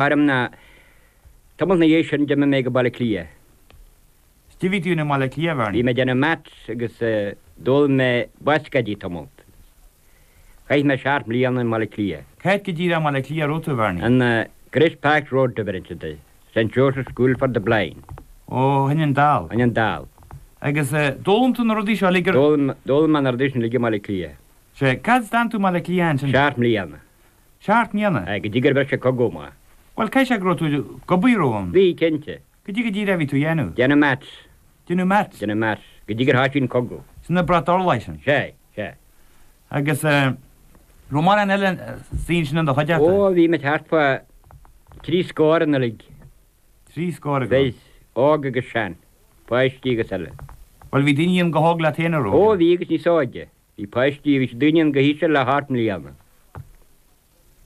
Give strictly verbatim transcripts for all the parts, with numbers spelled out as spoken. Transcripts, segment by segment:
orm ná tamall ina dhiaidh sin d'imigh mé go Baile Átha Cliath. Is cad a bhí tú i mBaile Átha Cliath, a Bhernie? Bhí mé ag déanamh maths agus d'fhoghlaim mé bascáidí tamall. Chaith mé seacht mbliana i mBaile Átha Cliath. Cá háit go díreach i mBaile Átha Cliath a raibh tú, a Bhernie? An Grace Park Road a bheireann siad air. St Joseph's School for the Blind. Ó, shin an dall. Shin an dall. Agus d'fhoghlaim tú na rudaí seo uilig ar. D'fhoghlaim mé na rudaí sin uilig i mBaile Átha Cliath. Sea, cá fhad d'fhan tú i mBaile Átha Cliath ansin? Seacht mbliana. Seacht mbliana? Aye, go dtí gur bhris an cogadh amach. Bhuel, caithfidh sé go raibh tú ag obair romham. Bhí, cinnte. Cad é go díreach a bhí tú a dhéanamh? Déanamh maths. Déanamh maths? Déanamh maths. Go dtí gur thoisigh an cogadh. Sin na brat orlaí sin? Sea, sea. Agus eh, raibh mórán eile saoin sin in do chuideachta? Ó, bhí muid thart fá trí scór an uilig. Trí scór agaibh? Bhí, óg agus sean, páistí agus eile. Bhuel, bhí daoine ann chomh hóg leat féin, an raibh? Ó, bhí agus níos óige. Bhí páistí, bhí daoine ann chomh híseal le hocht mbliana.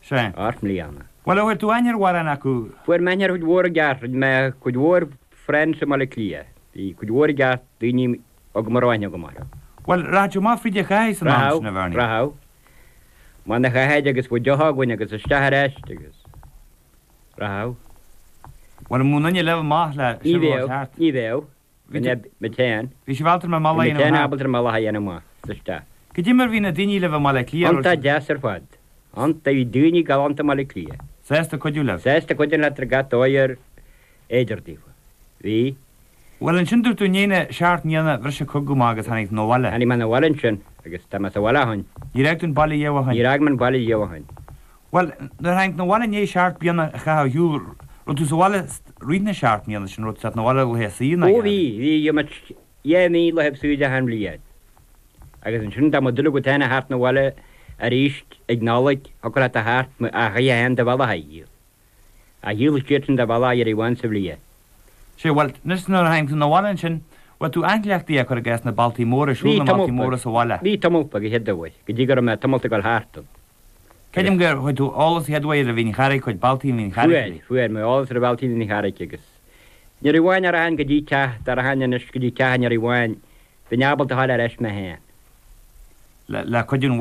Sea. Ocht mbliana. Bhuel, ar chuir tú aithne ar mhórán acu? Fuair mé aithne ar chuid mhór i gceart, rinne mé cuid mhór friends i mBaile Átha Cliath. Bhí cuid mhór i gceart daoine agam a raibh aithne agam orthu. Bhuel, rachadh tú amach fríd an chathair san am sin, a Bhernie? Rachadh, rachadh. Amach na chathair agus bheadh deoch againn agus isteach ar ais agus rachadh. Bhuel, an mbeadh aon duine libh amach le Ní siúlóid bheadh, thart? ní bheadh. Bhí Bhí mé féin. Bhí sibh ábalta ar an mbealach a Bhí mé dhéanamh féin thart? ábalta ar an mbealach a dhéanamh amach is isteach. Cad é mar bhí na daoine libh i mBaile Átha Cliath? Iontach deas ar fad. Iontach, bhí daoine galánta i mBaile Átha Cliath. Sásta cuidiú libh? Sásta cuidiú leat ar gach dóigh ar fhéidir daofa. Bhí. Bhuel, ansin dúirt tú i ndiaidh na seacht mbliana bhris an cogadh amach agus tháinig tú 'na bhaile. Tháinig mé 'na bhaile ansin agus tá mé sa bhaile ó shin. Níor fhág tú an baile riamh ó shin? Níor fhág mé an baile riamh ó shin. Bhuel, nuair a tháinig tú 'na bhaile i ndiaidh seacht mbliana a chaitheamh ar shiúl, raibh tú sa bhaile rith na seacht mbliana sin, raibh tú teacht 'na bhaile laetha saoire ná Ó bhí, bhí, bhí muid dhá mhí laetha saoire achan bhliain. Agus ansin dá mba dóigh agat féin a theacht 'na bhaile arís ag Nollaig, thiocfadh leat a theacht ach chaithfeá féin do bhealach a dhíol. A dhíol siad sin do bhealach uair amháin sa bhliain. Sea, bhuel, anois nuair a tháinig tú 'na bhaile ansin, bhfuil tú athchleachtaithe cuir i gcás na bealtaí móra, siúl Bhí na mbealtaí tamall móra sa bhaile? Bhí tamall beag, a chéad uair, go dtí go raibh mé tamall ag dul thart ann. Creidim gur chuir tú eolas a chéad uair ar Mhín Charraig, cuid bealtaí Mhín Charraig. Fuair, fuair mé eolas ar bhealtaí Mhín Charraig agus nuair amháin a rachainn go dtí teach, dá rachainn anois go dtí teach nuair amháin, bheinn ábalta a ghabháil ar ais mé féin. Le, le cuidiú an